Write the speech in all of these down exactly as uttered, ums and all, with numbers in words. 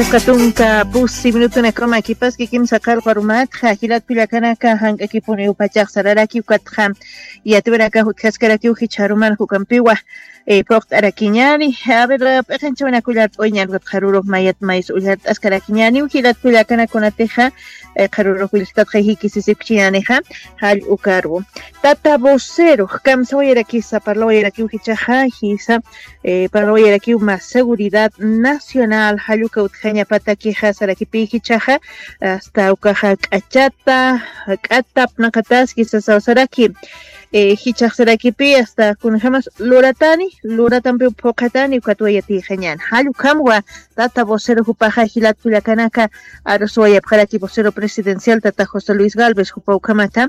Katunka pusi minutunakama kipaski kimsa qarqarumatxa jilat kullakanaka, jank'akipuniw pachax sararaki ukatxa yatiwanakax utjaskarakiw jichharuman jukampiwa. Phuqt'arakiñani. A ver, p'iqinchawinakullart'uy ñan ukatxa rurux mayat mays ullart'askarakiñaniw jilat kullakanakunatixa. Qharurux willktatxa jikisisipchiñanixa. Jall ukarwu tata vocero kamsawayarakisa parlawayarakiw jichaxa jisa. Parlawayarakiw mas seguridad nacional jalluka utjañapatakixa sarakipi jichaxa. Asta ukaxa k'achata k'atap naqataski sasawsaraki. Jichaxsarakipi asta kunjamas luratani luratampiw phuqhatani ukatwayatixañan jallukhamwa. Tata vocero jupaxa jilat kullakanaka. Aruswayapxaraki vocero presidencial tata josé luis galvez jupa ukhamata.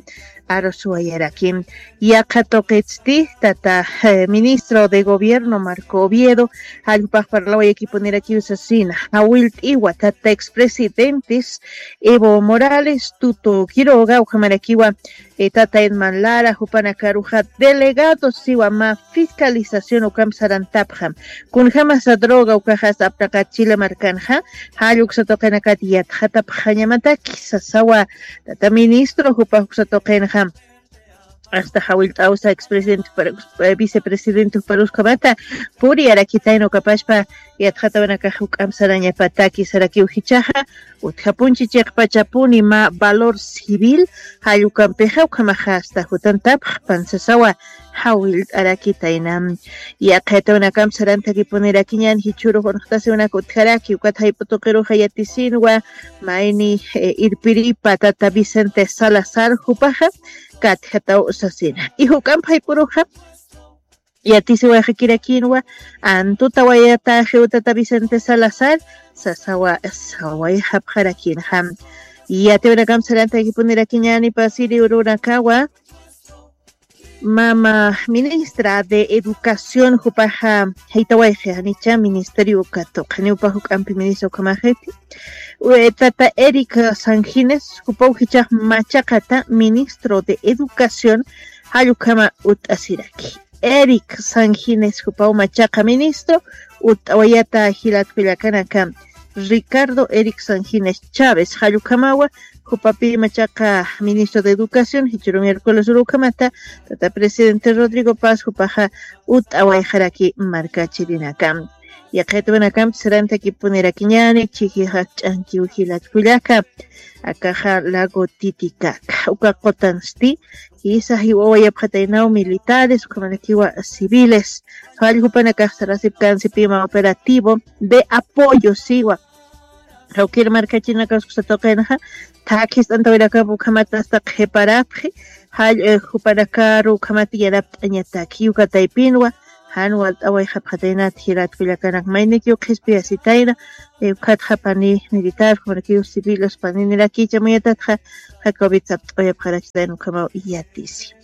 Aruswayaraki. Yaqha tuqitsti tata ministro de gobierno marco oviedo. Jallpax parlawayakipunirakiw sasina jawillt'iwa tata expresidentes evo morales tuto quiroga ukhamarakiwa. Tata edman lara jupanakaruxa delegados siwa mä fiscalización ukamp sarantapxam. Kunjamasa droga ukaxas aptaqat chile markanxa. Jall uksa tuqinakat yatxatapxañamataki sasawa. Tata ministro jupax uksa tuqinxa. Asta jawillt'awsa expresidente vicepresidente juparuskamata puriyarakitayna ukapashpa. Yatxatawanakax juk'amp sarañapataki sarakiw jichaxa. Utjapunchi chiqpachapuni mä valor civil. Jallukampixa ukhamaxa asta jutantapxpan sasawa. Jawillt'arakitayna. Yaqhayatawanakampis sarantakipunirakiñan jichhürux unxtasiwinaka utjaraki ukat jayp'u tuqiruxa yatisinwa. Mayni irpiripa tata vicente salazar jupaxa. Katjataw sasina ijuk'amp jayp'uruxa. Yatisiwayxakirakinwa antutawayataxiw tata vicente salazar. Sasawa sawayxapxarakinxa. Yatiwinakamp sarantakipunirakiñani pasiri urunakawa. Mama ministra de educación jupaxa jaytawayxi janicha ministerio katuqaniw upa juk'ampi ministra ukhamaxiti. Tata eric sangines jupaw jichax machaqata ministro de educación. Jall ukhama utt'asiraki. Eric sangines jupaw machaqa ministro utt'awayata jilat kullakanaka. Ricardo eric sangines chávez jall ukhamawa. Jupapi machaqa ministro de educación jichhürun miércoles uru ukhamata tata presidente rodrigo paz jupaxa. Utt'awayxaraki markachirinaka. Yaqhaytawanakamp sarantakipunirakiñani chijixak ch'ankiw jilat kullaka. Akaxa lago titikaka uka qutansti. Jisa jiwawayapxataynaw militares ukhamanakiwa civiles. Jall jupanakax sarasipkansipima operativo de apoyo siwa. Jawkir markachinakax kusa tuqinxa. Thakhi ist'antawirakap ukhamat asta qhiparapxi. Jall jupanakaru ukhamat yanapt'añataki ukataypinwa. Jan walt'awayxapxataynat jirat kullakanak maynikiw qhispiyasitayna. Ukhatxa pani militar ukhamanakiw civiles paninirakicha muyatatxa. Jakawit sapt'awayapxarakitayna ukhamaw yatisi.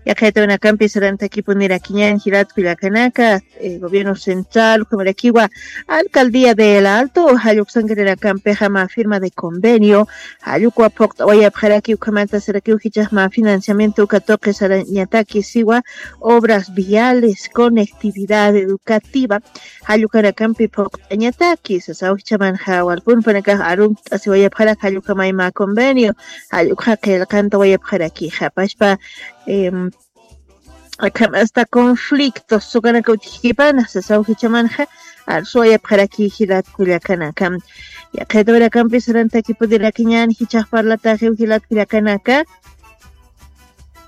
Yaqhaytawinakampi sarantakipunirakiñan jilat kullakanaka. Gobierno central ukhamarakiwa alcaldía de el alto jalluksankarirakampixa mä firma de convenio. Jallukwa phuqt'awayapxaraki ukhamata sarakiw jichax mä financiamiento uka tuqi sarañataki siwa. Obras viales conectividad educativa. Jallukanakampi phuqt'añataki sasaw jichamanxa walpunpanakax arumt'asiwayapxarak jallukhamay mä convenio. Jallukxa qillqantawayapxarakixa pashpa. Akham asta conflictos sukanaka utjkipana sasaw jichamanxa. Arsuwayapxaraki jilat kullakanaka. Yaqhaytawirakampi sarantakipudirakiñan jichax parlataxiw jilat kullakanaka.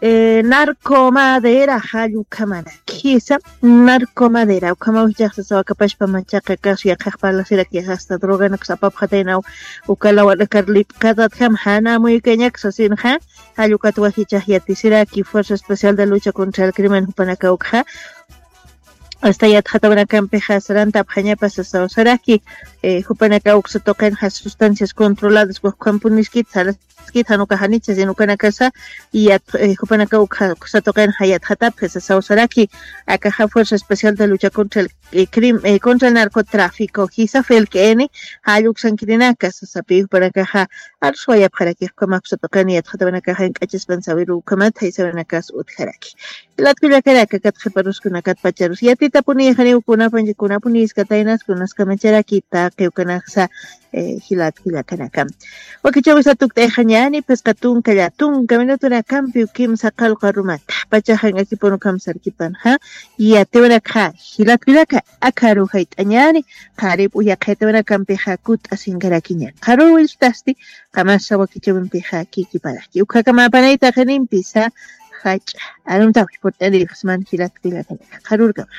Narcomadera jall ukhamanakisa. Narcomadera ukhamaw jichax sasaw akapashpa machaqa kasu yaqhax parlasirakix asta droganakas apapxataynaw. Ukalawanakar lipqatatjam jana amuykañak sasinxa. Jallukatwa jichax yatisiraki fuerza especial de lucha contra el crimen jupanakawkxa. Asta yatxatawanakampix sarantapxañapa sasaw saraki. Jupanakaw uksa tuqinxa sustancias controladas wajkhampuniskit saraskit jan ukax janicha sino ukanakasa. Yat jupanakaw uksa tuqinxa yatxatapxi sasaw saraki. Akaxa fuerza especial de lucha contra el contra el narcotráfico jisa felk'ini. Jall uksankirinaka sasapi jupanakaxa. Arsuwayapxarakix ukhamax uksa tuqin yatxatawanakaxa jank'achaspan sawiru ukhamat jaysawinakas utjaraki. Jilat kullakanaka kat qhiparuskunakat pacharus yati. Tapuni janiw kunapan kunapuniskataynas kunaskamacharakita qiwkanaksa. Jilat jilakanaka wakichawisa tukt'ayxañani phisqa tunka llatunka minutunakampiw kimsa qallqa rumata pachaxan akipunu kamsarkipanxa. Yatiwanakxa jilat jilaka akharu jayt'añani. Qharip uyaqhaytiwanakampixa kut'asinkarakiñani qharur willtasti. Qamasa wakichawimpixa kikiparaki ukhakamapanayta qinimpisa. Jach'a aruntawi purt'anirixsman jilat jilakanaka qharurkama.